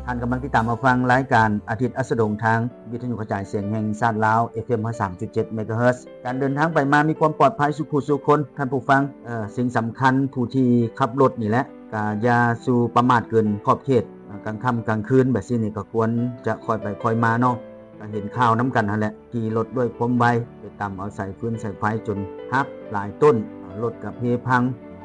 ທ່ານກຳລັງຕິດຕາມຮັບຟັງລາຍການອາທິດອັສດງ ທາງວິທະຍຸກະຈາຍສຽງແຫ່ງຊາດລາວ ເອຟເອັມ ຮ້ອຍສາມຈຸດເຈັດ ເມກາເຮີດ. ການເດີນທາງໄປມາມີຄວາມປອດໄພສູ່ຜູ້ສູ່ຄົນ ທ່ານຜູ້ຟັງ. ເອີ ສິ່ງສຳຄັນຜູ້ທີ່ຂັບລົດນີ້ແຫຼະ ກະຢ່າສູ່ປະໝາດເກີນຂອບເຂດ. ກາງຄ່ຳກາງຄືນແບບຊີ້ນີ້ ກະຄວນຈະຄ່ອຍໄປຄ່ອຍມາເນາະ. ກະເຫັນຂ່າວນຳກັນຫັ້ນແຫຼະ ຂີ່ລົດດ້ວຍຄວາມໄວ ໄປຕຳເອົາສາຍຟືນສາຍໄຟຈົນຫັກຫຼາຍຕົ້ນ, ລົດກະເພພັງ,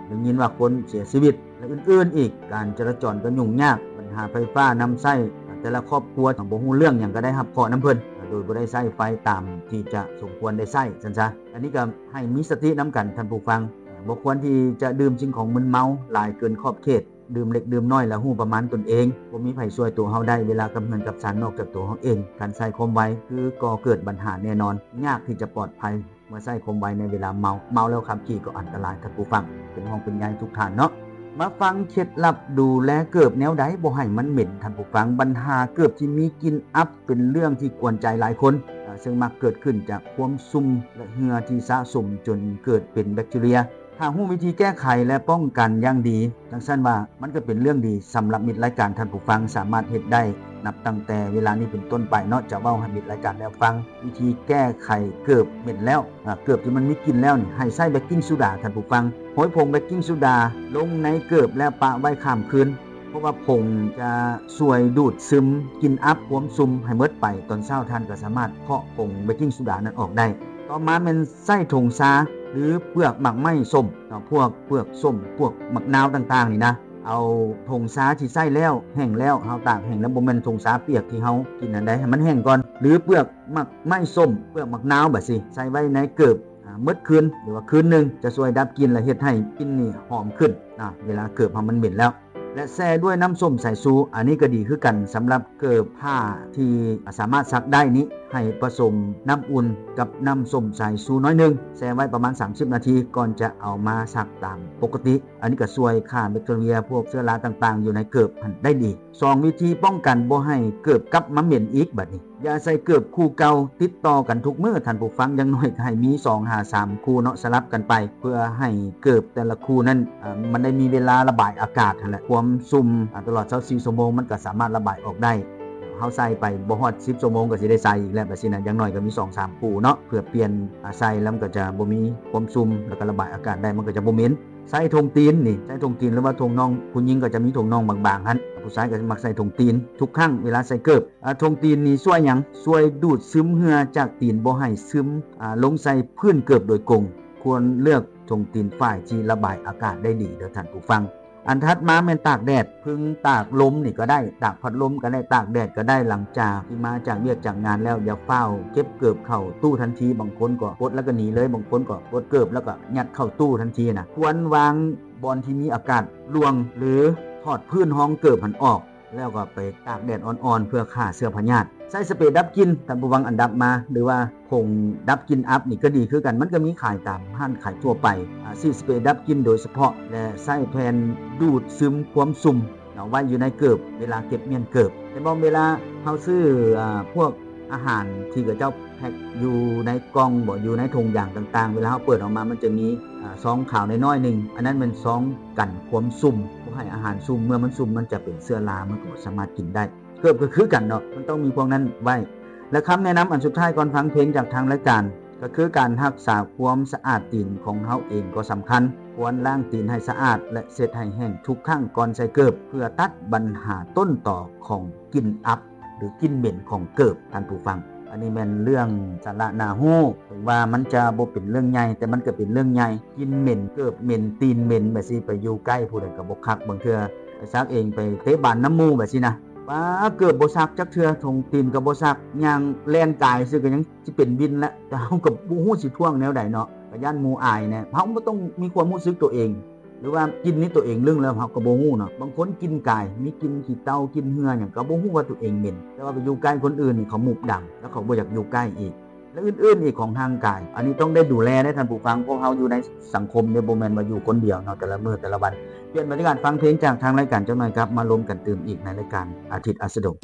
ໄດ້ຍິນວ່າຄົນເສຍຊີວິດ ແລະ ອື່ນໆອີກ. ການຈະລາຈອນກະຫຍຸ້ງຍາກ, ບັນຫາໄຟຟ້າ, ນ້ຳໃຊ້, ແຕ່ລະຄອບຄົວບໍ່ຮູ້ເລື່ອງຫຍັງກະໄດ້ຮັບເຄາະນຳເພິ່ນ ໂດຍບໍ່ໄດ້ໃຊ້ໄຟຕາມທີ່ຈະສົມຄວນໄດ້ໃຊ້ຊັ້ນຊະ. ອັນນີ້ກະໃຫ້ມີສະຕິນຳກັນທ່ານຜູ້ຟັງ. ບໍ່ຄວນທີ່ຈະດື່ມສິ່ງຂອງມຶນເມົາຫຼາຍເກີນຂອບເຂດ. ດື່ມເລັກດື່ມນ້ອຍ ແລະ ຮູ້ປະມານຕົນເອງ. ບໍ່ມີໃຜຊ່ວຍຕົວເຮົາໄດ້ ເວລາກັບເຮືອນກັບຊານນອກຈາກຕົວເຮົາເອງ. ການໃສ່ຄວາມໄວຄືກໍ່ເກີດບັນຫາແນ່ນອນ, ຍາກທີ່ຈະປອດໄພເມື່ອໃຊ້ຄວາມໄວໃນເວລາເມົາ. ເມົາແລ້ວຂັບຂີ່ກໍອັນຕະລາຍ ທ່ານຜູ້ຟັງ. ເປັນຫ່ວງເປັນໃຍທຸກທ່ານເນາະ. ມາຟັງເຄັດລັບດູແລເກີບແນວໃດບໍ່ໃຫ້ມັນເໝັນ ທ່ານຜູ້ຟັງ. ບັນຫາເກີບທີ່ມີກິ່ນອັບເປັນເລື່ອງທີ່ກວນໃຈຫຼາຍຄົນ, ເຊິ່ງມັກເກີດຂຶ້ນຈາກຄວາມຊຸ່ມ ແລະ ເຫື່ອທີ່ສະສົມຈົນເກີດເປັນແບັກທີເຣຍ. ຖ້າຮູ້ວິທີແກ້ໄຂ ແລະ ປ້ອງກັນຢ່າງດີ ຈັ່ງຊັ້ນວ່າມັນກະເປັນເລື່ອງດີສຳລັບມິດລາຍການ. ທ່ານຜູ້ຟັງສາມາດເຮັດໄດ້ນັບຕັ້ງແຕ່ເວລານີ້ເປັນຕົ້ນໄປເນາະ. ຈະເວົ້າໃຫ້ມິດລາຍການໄດ້ຟັງວິທີແກ້ໄຂເກີບເໝັນແລ້ວ, ອາ ເກີບທີ່ມັນມີກິ່ນແລ້ວນີ້ ໃຫ້ໃຊ້ເບກກິງໂຊດາ ທ່ານຜູ້ຟັງ. ໂຮຍຜົງເບກກິງໂຊດາລົງໃນເກີບ ແລ້ວປະໄວ້ຂ້າມຄືນ. ເພາະວ່າຜົງຈະຊ່ວຍດູດຊຶມກິ່ນອັບຄວາມຊຸ່ມໃຫ້ໝົດໄປ. ຕອນເຊົ້າທ່ານກະສາມາດເຄາະຜົງເບກກິງໂຊດານັ້ນອອກໄດ້. ຕໍ່ມາແມ່ນໃຊ້ຖົງຊາ ຫຼື ເປືອກໝາກໄມ້ສົ້ມເນາະ, ພວກເປືອກສົ້ມ ພວກໝາກນາວຕ່າງໆນີ້ນະ. ເອົາຖົງຊາທີ່ໃຊ້ແລ້ວ ແຫ້ງແລ້ວ ເຮົາຕາກແຫ້ງແລ້ວ ບໍ່ແມ່ນຖົງຊາປຽກທີ່ເຮົາກິນຫັ້ນໃດ, ໃຫ້ມັນແຫ້ງກ່ອນ. ຫຼື ເປືອກໝາກໄມ້ສົ້ມ ເປືອກໝາກນາວແບບຊີ້ ໃສ່ໄວ້ໃນເກີບ ອາ ໝົດຄືນ ຫຼືວ່າຄືນໜຶ່ງ ຈະຊ່ວຍດັບກິ່ນ ແລະ ເຮັດໃຫ້ກິ່ນນີ້ຫອມຂຶ້ນນະ ເວລາເກີບເຮົາມັນເໝັນແລ້ວ. ແລະ ແຊ່ດ້ວຍນ້ຳສົ້ມສາຍຊູ ອັນນີ້ກະດີຄືກັນ. ສຳລັບເກີບຜ້າທີ່ສາມາດຊັກໄດ້ນີ້ ໃຫ້ປະສົມນ້ຳອຸ່ນກັບນ້ຳສົ້ມສາຍຊູໜ້ອຍໜຶ່ງ ແຊ່ໄວ້ປະມານສາມສິບນາທີ ກ່ອນຈະເອົາມາຊັກຕາມປົກກະຕິ. ອັນນີ້ກະຊ່ວຍຂ້າແບັກທີເຣຍ ພວກເຊື້ອລາຕ່າງໆຢູ່ໃນເກີບຫັ້ນໄດ້ດີ. ສອງວິທີປ້ອງກັນບໍ່ໃຫ້ເກີບກັບມາເໝັນອີກ. ບາດນີ້ ຢ່າໃສ່ເກີບຄູ່ເກົ່າຕິດຕໍ່ກັນທຸກມື້ ທ່ານຜູ້ຟັງ. ຢ່າງໜ້ອຍກະໃຫ້ມີສອງຫາສາມຄູ່ເນາະ ສະຫຼັບກັນໄປ ເພື່ອໃຫ້ເກີບແຕ່ລະຄູ່ນັ້ນ ອາ ມັນໄດ້ມີເວລາລະບາຍອາກາດຫັ້ນແຫຼະ. ຄວາມຊຸ່ມ ອາ ຕະຫຼອດຊາວສີ່ຊົ່ວໂມງ ມັນກະສາມາດລະບາຍອອກໄດ້. ເຮົາໃສ່ໄປບໍ່ຮອດສິບຊົ່ວໂມງກະຊິໄດ້ໃສ່ອີກແລ້ວ ແບບຊີ້ນະ. ຢ່າງໜ້ອຍກະມີສອງສາມຄູ່ເນາະ ເພື່ອປ່ຽນ ອາ ໃສ່ແລ້ວມັນກະຈະບໍ່ມີຄວາມຊຸ່ມ ແລ້ວກະລະບາຍອາກາດໄດ້ ມັນກະຈະບໍ່ເໝັນ. ໃສ່ຖົງຕີນນີ້ ໃສ່ຖົງຕີນ ຫຼືວ່າຖົງນ່ອງ, ຜູ້ຍິງກະຈະມີຖົງນ່ອງບາງໆຫັ້ນ, ຜູ້ຊາຍກະມັກໃສ່ຖົງຕີນທຸກຄັ້ງເວລາໃສ່ເກີບ. ອາ ຖົງຕີນນີ້ຊ່ວຍຫຍັງ? ຊ່ວຍດູດຊຶມເຫື່ອຈາກຕີນ ບໍ່ໃຫ້ຊຶມ ອາ ລົງໃສ່ພື້ນເກີບໂດຍກົງ. ຄວນເລືອກຖົງຕີນຝ້າຍທີ່ລະບາຍອາກາດໄດ້ດີເດີທ່ານຜູ້ຟັງ. ອັນຖັດມາແມ່ນຕາກແດດ, ເພິ່ງຕາກລົມນີ້ກະໄດ້, ຕາກພັດລົມກະໄດ້, ຕາກແດດກະໄດ້. ຫຼັງຈາກທີ່ມາຈາກວຽກຈາກງານແລ້ວ ຢ່າຟ້າວເກັບເກີບເຂົ້າຕູ້ທັນທີ. ບາງຄົນກະປົດແລ້ວກະໜີເລີຍ, ບາງຄົນກະປົດເກີບແລ້ວກະຍັດເຂົ້າຕູ້ທັນທີນະ. ຄວນວາງບ່ອນທີ່ມີອາກາດລ່ວງ ຫຼື ຖອດພື້ນຮອງເກີບຫັ້ນອອກ ແລ້ວກະໄປຕາກແດດອ່ອນໆ ເພື່ອຂ້າເຊື້ອພະຍາດ. ໃຊ້ສະເປດັບກິ່ນ ທ່ານຜູ້ຟັງ, ອັນດັບມາ ຫຼືວ່າຜົງດັບກິ່ນອັບນີ້ກະດີຄືກັນ, ມັນກະມີຂາຍຕາມຮ້ານຂາຍທົ່ວໄປ. ອາ ສີດສະເປດັບກິ່ນໂດຍສະເພາະ ແລະ ໃຊ້ແຜ່ນດູດຊຶມຄວາມຊຸ່ມເນາະ ໄວ້ຢູ່ໃນເກີບ ເວລາເກັບມ້ຽນເກີບ. ແຕ່ບາງເວລາເຮົາຊື້ ອາ ພວກອາຫານທີ່ເຂົາເຈົ້າແພັກຢູ່ໃນກ່ອງບໍ ຢູ່ໃນຖົງຢາງຕ່າງໆ ເວລາເຮົາເປີດອອກມາ ມັນຈະມີ ອາ ຊອງຂາວນ້ອຍໆໜຶ່ງ, ອັນນັ້ນແມ່ນຊອງກັນຄວາມຊຸ່ມ ບໍ່ໃຫ້ອາຫານຊຸ່ມ. ເມື່ອມັນຊຸ່ມ ມັນຈະເປັນເຊື້ອລາ ມັນກະບໍ່ສາມາດກິນໄດ້. ເກີບກະຄືກັນເນາະ, ມັນຕ້ອງມີພວກນັ້ນໄວ້. ແລະ ຄຳແນະນຳອັນສຸດທ້າຍ ກ່ອນຟັງເພງຈາກທາງລາຍການ ກະຄືການຮັກສາຄວາມສະອາດຕີນຂອງເຮົາເອງກໍສຳຄັນ. ຄວນລ້າງຕີນໃຫ້ສະອາດ ແລະ ເຊັດໃຫ້ແຫ້ງທຸກຄັ້ງກ່ອນໃສ່ເກີບ ເພື່ອຕັດບັນຫາຕົ້ນຕໍຂອງກິ່ນອັບ ຫຼື ກິ່ນເໝັນຂອງເກີບ ທ່ານຜູ້ຟັງ. ອັນນີ້ແມ່ນເລື່ອງສາລະໜ້າຮູ້, ເຖິງວ່າມັນຈະບໍ່ເປັນເລື່ອງໃຫຍ່ ແຕ່ມັນກະເປັນເລື່ອງໃຫຍ່. ກິ່ນເໝັນ, ເກີບເໝັນ, ຕີນເໝັນແບບຊີ້ ໄປຢູ່ໃກ້ຜູ້ໃດກະບໍ່ຄັກ. ບາງເທື່ອໄປຊັກເອງ ໄປເຕະບານນຳໝູ່ແບບຊີ້ນະ, ປາ ເກີບບໍ່ຊັກຈັກເທື່ອ, ຖົງຕີນກະບໍ່ຊັກ, ຍ່າງແລ່ນກາຍຊື່ກະຍັງຊິເປັນວິນແລ້ວ. ແຕ່ເຮົາກະບໍ່ຮູ້ຊິທ້ວງແນວໃດເນາະ, ກະຢ້ານໝູ່ອາຍແດ່. ເຮົາບໍ່ຕ້ອງມີຄວາມຮູ້ສຶກໂຕເອງ ຫຼືວ່າກິ່ນນີ້ໂຕເອງລຶ້ງແລ້ວເຮົາກະບໍ່ຮູ້ເນາະ. ບາງຄົນກິ່ນກາຍ ມີກິ່ນຂີ້ເຕົ່າ ກິ່ນເຫື່ອຫຍັງ ກະບໍ່ຮູ້ວ່າໂຕເອງເໝັນ, ແຕ່ວ່າໄປຢູ່ໃກ້ຄົນອື່ນນີ້ ເຂົາໝູບດຳ ແລ້ວເຂົາບໍ່ຢາກຢູ່ໃກ້ອີກ ແລະ ອື່ນໆອີກຂອງຮ່າງກາຍ. ອັນນີ້ຕ້ອງໄດ້ດູແລເດ້ທ່ານຜູ້ຟັງ, ພວກເຮົາຢູ່ໃນສັງຄົມເດ້ ບໍ່ແມ່ນວ່າຢູ່ຄົນດຽວເນາະ ແຕ່ລະມື້ແຕ່ລະວັນ. ປ່ຽນບັນຍາກາດຟັງເພງຈາກທາງລາຍການຈັກໜ່ອຍ, ກັບມາລົມກັນຕື່ມອີກໃນລາຍການອາທິດອັສດງ.